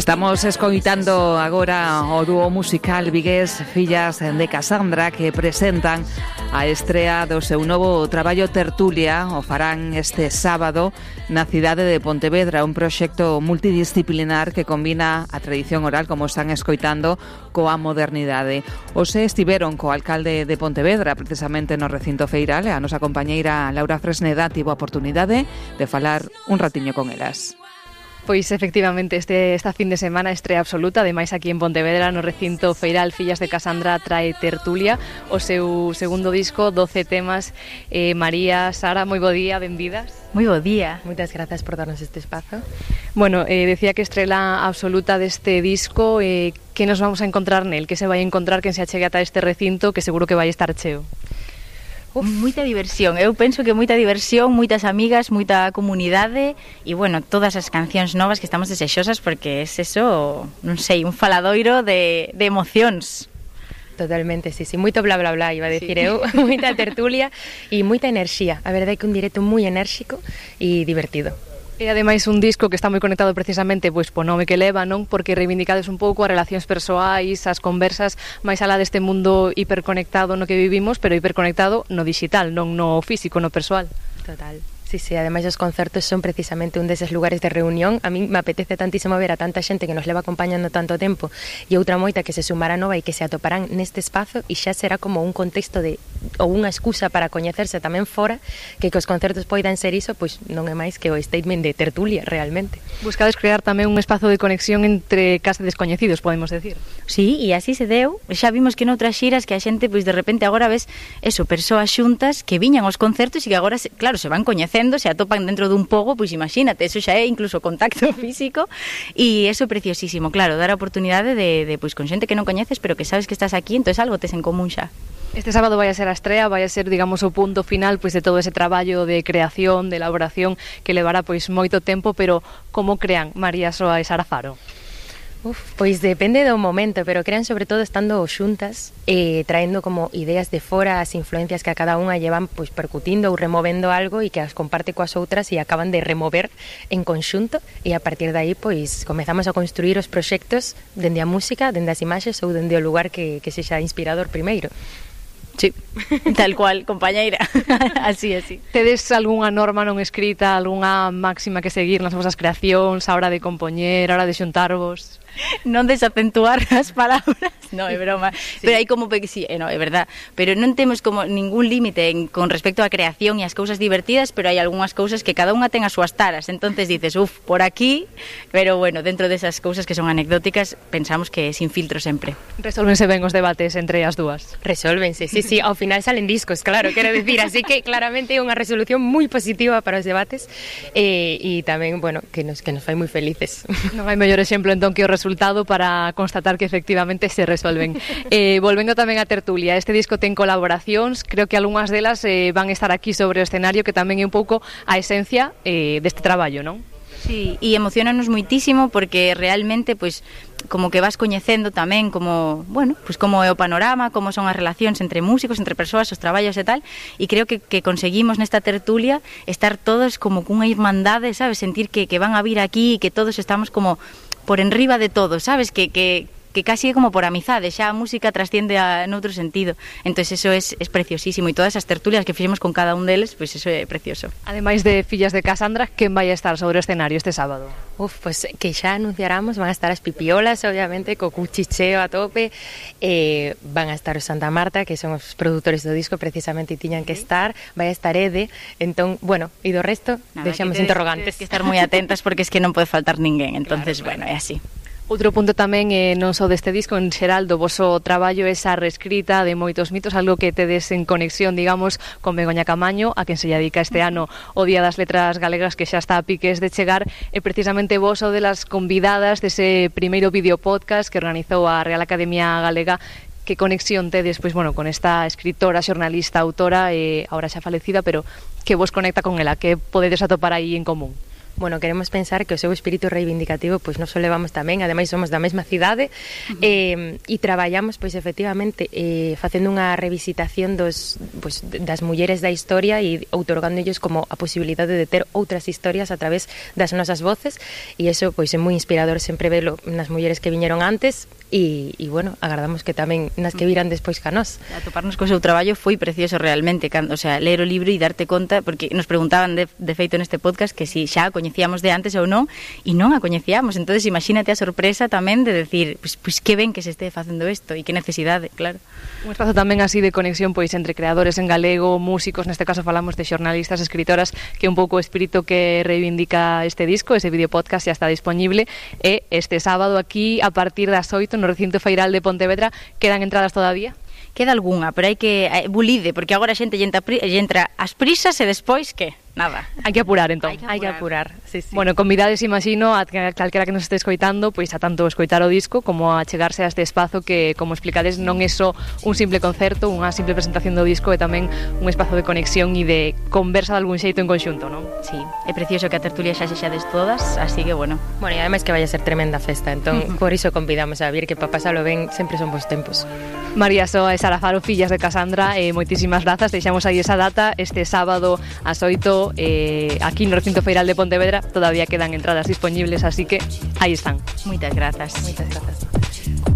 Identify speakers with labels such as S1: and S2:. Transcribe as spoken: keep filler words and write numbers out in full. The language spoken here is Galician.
S1: Estamos escoitando agora o dúo musical vigués Fillas de Casandra, que presentan a estrea do seu novo traballo Tertulia. O farán este sábado na cidade de Pontevedra, un proxecto multidisciplinar que combina a tradición oral, como están escoitando, coa modernidade. Hoxe estiveron co alcalde de Pontevedra, precisamente no recinto feiral, e a nosa compañeira Laura Fresneda tivo a oportunidade de falar un ratiño con elas.
S2: Pois efectivamente este esta fin de semana estrea absoluta, ademais aquí en Pontevedra no recinto feiral Fillas de Casandra trae Tertulia, o seu segundo disco, doce temas. eh, María, Sara, moi bo día, benvidas.
S3: Moi bo día, moitas grazas por darnos este espazo.
S2: Bueno, eh, decía que estrela absoluta deste disco, eh, que nos vamos a encontrar nel, que se vai a encontrar quen se achegue ata este recinto, que seguro que vai estar cheo.
S3: Uf, moita diversión, eu penso que moita diversión, moitas amigas, moita comunidade e, bueno, todas as cancións novas que estamos desexosas porque é eso, non sei, un faladoiro de, de emocións.
S4: Totalmente, sí, sí, moito bla bla bla, iba a decir sí. eu, moita tertulia e moita enerxía, a verdade é que un directo moi enérxico e divertido.
S2: E ademais un disco que está moi conectado precisamente pois po nome que leva, non? Porque reivindicades un pouco as relacións persoais, as conversas máis alá deste mundo hiperconectado no que vivimos, pero hiperconectado no digital, non no físico, no persoal.
S4: Total. Sí, sí, ademais os concertos son precisamente un deses lugares de reunión. A mí me apetece tantísimo ver a tanta xente que nos leva acompañando tanto tempo e outra moita que se sumará nova e que se atoparán neste espazo e xa será como un contexto de ou unha excusa para coñecerse tamén fora, que que os concertos poidan ser iso, pois non é máis que o statement de tertulia realmente.
S2: Buscades crear tamén un espazo de conexión entre case descoñecidos, podemos decir.
S3: Sí, e así se deu. Xa vimos que noutras xiras que a xente, pois de repente agora ves eso, persoas xuntas que viñan aos concertos e que agora, claro, se van coñecendo, se atopan dentro dun pogo, pois imagínate, eso xa é incluso contacto físico e eso é preciosísimo, claro, dar a oportunidade de, de pois con xente que non coñeces, pero que sabes que estás aquí, entón algo tes en común xa.
S2: Este sábado vai a ser a estrea, vai a ser, digamos, o punto final pois de todo ese traballo de creación, de elaboración que levará pois moito tempo, pero como crean María Soa e Sara Faro?
S4: Uf, pois depende do momento, pero crean sobre todo estando xuntas, eh, traendo como ideas de fora, as influencias que a cada unha llevan pois percutindo ou removendo algo e que as comparte coas outras e acaban de remover en conxunto e a partir de aí pois comezamos a construir os proxectos dende a música, dende as imaxes ou dende o lugar que, que sexa inspirador primeiro.
S3: Sí, tal cual, compañeira. Así, así.
S2: Tedes algunha norma non escrita, algunha máxima que seguir nas vosas creacións, a hora de compoñer, a hora de xuntarvos?
S3: Non desacentuar as palabras. No, é broma. Sí. Pero hai como que sí, eh, no, é verdad. Pero non temos como ningún límite en, con respecto á creación e as cousas divertidas, pero hai algunhas cousas que cada unha ten as súas taras. Entonces dices, uf, por aquí, pero bueno, dentro desas cousas que son anecdóticas, pensamos que sin filtro sempre.
S2: Resolvense ben os debates entre as dúas.
S4: Resolvense, sí, sí, ao final salen discos, claro, quero decir, así que claramente é unha resolución moi positiva para os debates eh, e tamén, bueno, que nos, que nos fai moi felices.
S2: Non hai mellor exemplo entón que o resultado para constatar que efectivamente se resolven. Eh, volvendo tamén a Tertulia, este disco ten colaboracións, creo que algunhas delas eh, van estar aquí sobre o escenario, que tamén é un pouco a esencia eh, deste traballo, non?
S3: Sí, e emocionanos moitísimo porque realmente, pois, como que vas coñecendo tamén como, bueno, pois como é o panorama, como son as relacións entre músicos, entre persoas, os traballos e tal, e creo que, que conseguimos nesta tertulia estar todos como cunha irmandade, sabes, sentir que, que van a vir aquí e que todos estamos como por enriba de todo, sabes, que, que, que casi é como por amizade, xa a música trasciende a noutro sentido, entón eso é, é preciosísimo e todas as tertulias que fixemos con cada un deles, pois eso é precioso.
S2: Ademais de Fillas de Casandra, quen vai a estar sobre o escenario este sábado?
S4: Uf, pues que xa anunciáramos, van a estar as Pipiolas, obviamente, co cuchicheo a tope, eh, van a estar os Santa Marta, que son os produtores do disco, precisamente tiñan que estar, vai a estar Ede, entón, bueno, e do resto, deixamos interrogantes.
S3: Que estar moi atentas porque es que non pode faltar ninguén, entonces, claro, claro. Bueno, é así.
S2: Outro punto tamén eh, non só deste disco, en xeral do voso traballo, esa reescrita de moitos mitos, algo que tedes en conexión, digamos, con Begoña Camaño, a quen se lle dedica este ano o Día das Letras Galegas, que xa está a piques de chegar, e precisamente vos o de las convidadas dese primeiro videopodcast que organizou a Real Academia Galega. Que conexión tedes, pois, bueno, con esta escritora, xornalista, autora, eh, ahora xa falecida, pero que vos conecta con ela, que podedes atopar aí en común?
S4: bueno, queremos pensar que o seu espírito reivindicativo pois nos o levamos tamén, ademais somos da mesma cidade, uh-huh. eh, e traballamos pois efectivamente eh, facendo unha revisitación dos, pois, das mulleres da historia e outorgándolles como a posibilidade de ter outras historias a través das nosas voces, e iso pois é moi inspirador sempre velo nas mulleres que viñeron antes e, e bueno, agardamos que tamén nas que viran despois ca nós.
S3: Atoparnos co seu traballo foi precioso realmente, cando, o sea, ler o libro e darte conta, porque nos preguntaban de, de feito neste podcast que si xa a coñecíamos de antes ou non, e non a coñecíamos, entonces imagínate a sorpresa tamén de decir, pois, pues, pues, que ben que se este facendo isto e que necesidade, claro.
S2: Un espazo tamén así de conexión pois entre creadores en galego, músicos, neste caso falamos de xornalistas, escritoras, que un pouco o espírito que reivindica este disco, ese vídeo podcast xa está disponible, e este sábado aquí a partir das oito no recinto feiral de Pontevedra. Quedan entradas todavía?
S3: Queda algunha, pero hai que eh, bulide, porque agora a xente lle entra, lle entra as prisas e despois que? Nada.
S2: Hai que apurar, entón.
S4: Hai que apurar, sí, sí.
S2: Bueno, convidades, imagino, a calquera que nos este escoitando, pois a tanto escoitar o disco como a chegarse a este espazo que, como explicades, non é só un simple concerto, unha simple presentación do disco, é tamén un espazo de conexión e de conversa de algún xeito en conxunto, non?
S3: Sí, é precioso que a tertulia xa sexades todas, así que, bueno.
S4: Bueno, e ademais que vai a ser tremenda festa, entón, por iso convidamos a vir que para pasalo ben sempre son bons tempos.
S2: María Soa e Sara Faro, fillas de Casandra, eh, moitísimas grazas, deixamos aí esa data, este sábado ás oito, eh, aquí no recinto feiral de Pontevedra, todavía quedan entradas disponibles, así que aí están.
S3: Moitas grazas.
S4: Moitas grazas.